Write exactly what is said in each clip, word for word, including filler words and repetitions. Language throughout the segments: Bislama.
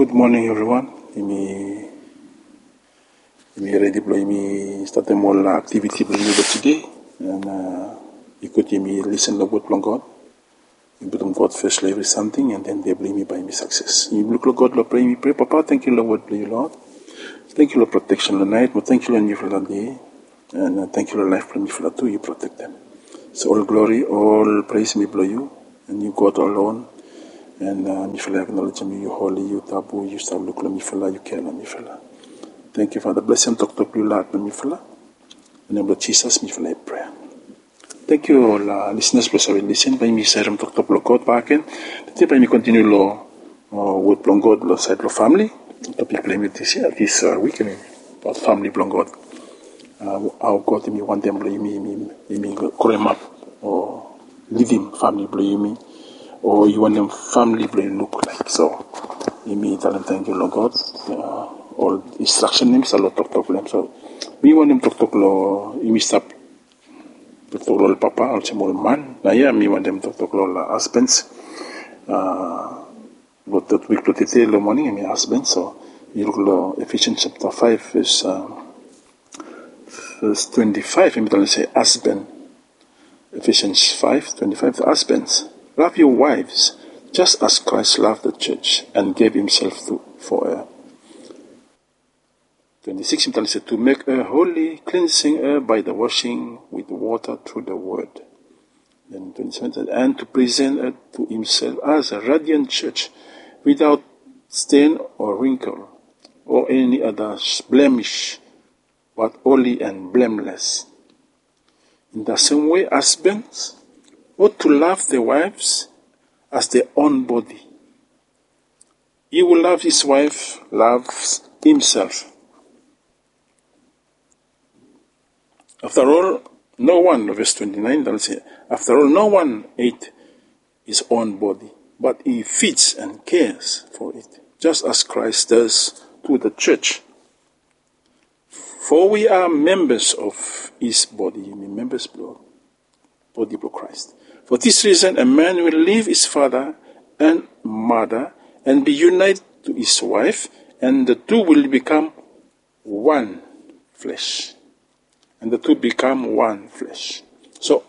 Gud moning evriwan. Yumi redi blong yumi statem ol aktiviti blong yumi blong tude. An i gud yumi lisen long wod blong God. Yumi putum God fes long evri samting, an den dei blong yumi bae yumi sakses. Yumi luk long God long prea, yumi prea, Papa, tangkiu long wod blong yu, Lord. Tangkiu long proteksen long nait, mo tangkiu long niufala dei. An tangkiu long laef blong mifala tu, yu protektem. So ol glori, ol pres mi blong yu, an yu God alone. An mifala aknolejem yu, yu holi, yu tabu, yu stap luk long mifala, yu kea long mifala. Tangkiu Fada, blesem toktok blong yu long hat blong mifala. Long nem blong Jisas mifala i prea. Tangkiu ol lisinas blong save lisen. Bae yumi sarem toktok blong God bakegen. Tede bae yumi kontiniu long wod blong God long saed blong famili. Topik blong yumi dis yia, dis wik, hemi abaot famili blong God. Hao God hemi wantem blong yumi, yumi, yumi growemap o lidim famili blong yumi, o i wantem famili blong yu luk laek. So yumi talem tangkiu long God. Ol instraksen hemi stap long toktok blong hem. So mi wantem toktok long, yumi stap toktok long ol papa olsem ol man. Naoia mi wantem toktok long ol hasbens. Long totpik blong tede long moning hemi hasbens. So yu luk long Ephesians chapter five, verse, verse twenty-five, hemi talem se hasben. Ephesians five twenty-five, the husbands, love your wives, just as Christ loved the church and gave himself to, for her. Twenty-six, hemi talem se, to make her holy, cleansing her by the washing with water through the word. Then twenty-seven says, and to present her to himself as a radiant church, without stain or wrinkle or any other blemish, but holy and blameless. In the same way, husbands ought to love their wives as their own body. He who loves his wife loves himself. After all, no one, verse twenty-nine, talem se, after all, no one hate his own body, but he feeds and cares for it, just as Christ does to the church. For we are members of his body. Yumi members blong bodi blong Christ. For this reason, a man will leave his father and mother and be united to his wife, and the two will become one flesh. And the two become one flesh. So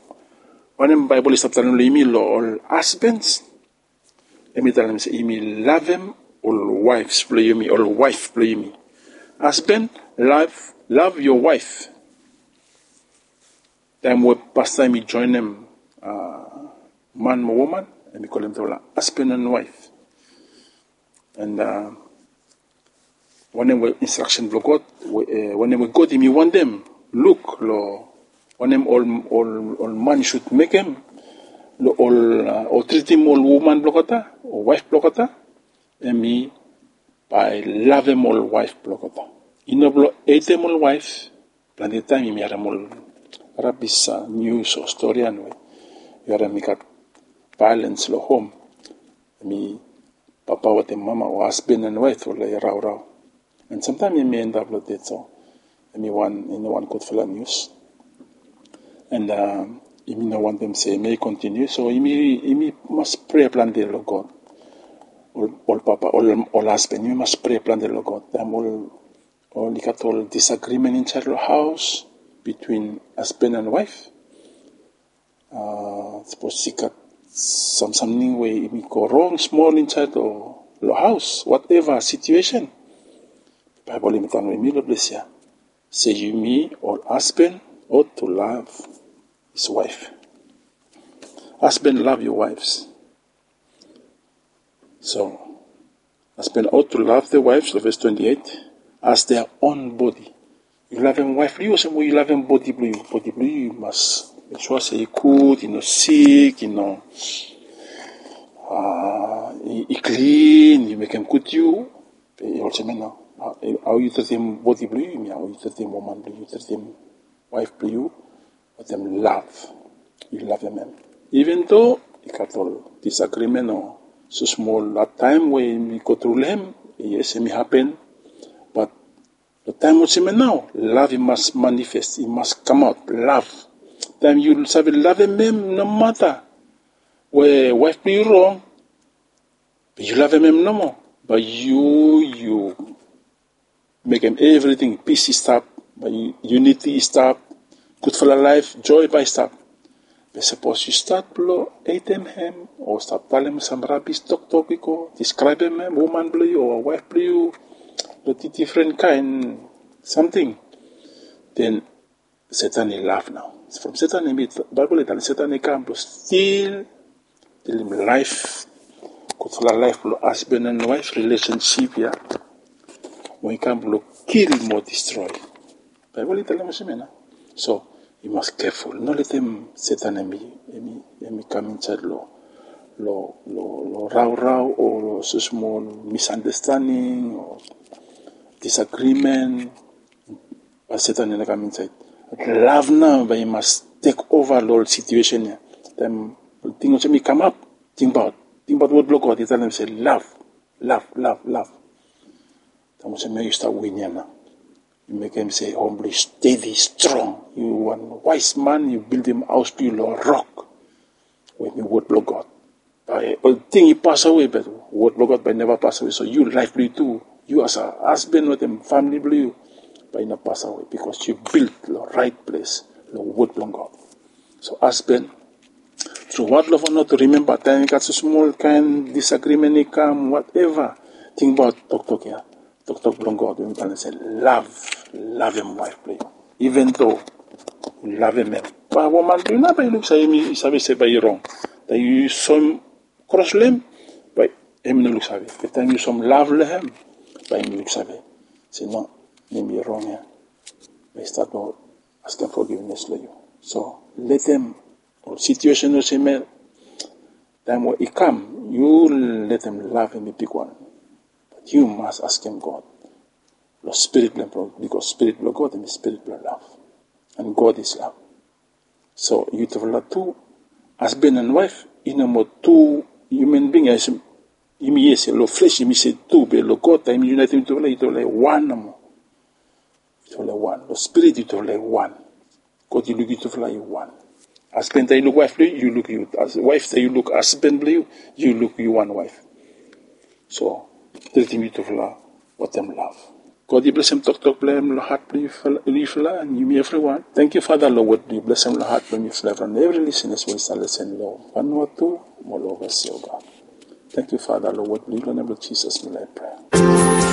wanem Baebol i stap talem long yumi long ol hasbens? Hemi talem se yumi lavem ol waefs blong yumi, ol waef blong yumi. Hasben, love, love your wife. Taem we pastaem i joenem man mo woman, hemi kolem olgeta hasben and waef. And wanem we instraksen blong God, wanem we God hemi wantem luk long wanem ol, ol, ol man i sud mekem long ol, o tritim ol woman blong olgeta o waef blong olgeta, hemi bae lavem ol waef blong olgeta. I no blong hetem ol waef. Plante taem yumi harem ol rabis nius o storian we yu harem i gat vaelens long hom. Hemi papa wetem mama o hasben and waef oli raorao. And samtaem yumi endap long ded. So hemi wan, i no wan gudfala nius. And yumi no wantem se hemi kontiniu. So yumi, yumi mas prea plante long God. Ol, ol papa, ol, ol hasben, yumi mas prea plante long God. Taem ol, ol i gat ol disagrimen insaed long haos bitwin hasben and waef. Sapos i gat sam, samting we i go rong smol insaed long haos, whatever situation, Baebol i talem long yumi long ples ya se yumi ol hasben ought to love his wife. Hasben, love your wives. So hasben ought to love their wives, long ves twenty-eight, as their own bodi. Yu lavem waef blong yu olsem we yu lavem bodi blong yu. Bodi blong yu, yu mas mek sua se i gud, i no sik, i no, i klin, yu mekem gud yu. Be olsem ya nao, hao yu tritim bodi blong yu, hemi hao yu tritim woman blong yu, yu tritim waef blong yu wetem lav. Yu lavem hem. Iven do i gat ol disagrimen o smosmol hadtaem we yumi go tru long hem, yes, hemi hapen. Bat long taem olsem ya nao, lav i mas manifest, i mas kamaot, lav. Taem yu save lavem hem nomata we waef blong yu rong, be yu lavem hem nomo, Bae yu yu mekem evriting, pis i stap, bae yuniti i stap, gudfala laef, joe bae i stap. Be sapos yu stat blong heitem hem o stap talem sam rabis toktok i go, diskraebem hem, woman blong yu o waef blong yu, long difren kaen samting, den Setan i laf nao. From Setan i mit, Baebol i talem Setan i kam blong stil, kilim laef, gudfala laef blong hasban and waef rilesensip ya. Mo i kam blong kil mo distroe. Baebol i talem olsem ya nao. So yu mas keful, no letem Setan hem i hem i hem i kam insaed long long long long raorao o long smol misunderstanding o disagrimen. Bae Setan i no kam insaed. Lav nao bae i mas tek ova long ol situesen ya. Taem ting olsem i kamap, tingbaot tingbaot wod blong God i talem se lav, lav, lav, lav. Taem olsem ya yu stap win ya nao. Yu mekem se hom blong yu stedi strong. Yu wan waes man, yu bildim haos blong yu long rok we hem i wod blong God. Bae olting i pasawe, be wod blong God bae i neva pasawe. So yu, laef blong yu tu, yu as a hasban wetem famili blong yu, bae i no pasawe, bikos yu bild long raet ples, long wod blong God. So hasban, tru wad long fano tu rimemba taem i gat so smol kaen disagrimen i kam, wateva, tingbaot toktok ya, toktok blong God we hem i talem se lav, lavem waef blong yu, iven do yu lavem hem. Bae woman blong yu nao bae i luksave, hem i save se bae i rong. Taem yu soem kros long hem, bae hem i no luksave. Be taem yu soem lav long hem, bae hem i luksave se no, hem i rong ya. Bae i stat long askem fogivnes long yu. So letem ol situesen olsem ya, taem we i kam, yu letem lav hem i bigwan. Bat yu mas askem God long spirit blong hem, bikos spirit blong God hem i spirit blong lav. And God is love. So yutufala tu, hasban and waef i no moa tu hiuman bing ya. Yumi yia se long fles yumi se tu, be long God taem i yunaetem yutufala, yutufala i wan nomo. Yutufala i wan long spirit, yutufala i wan. God i luk yutufala i wan. Hasban taem i luk waef blong yu, yu luk yu. Waef taem i luk hasban blong yu, yu luk yu wan waef. So treatem yutufala wetem lav. God i blesem toktok blong hem long hat blong yufala, and yumi evriwan. Tangkiu Fada long wod blong yu. Blesem long hat blong yufala, evriwan, evri lisenas we i stap lesen long Vanuatu mo long ovasi, o God. Tangkiu Fada long wod blong yu, long nem blong Jisas mi laik prea.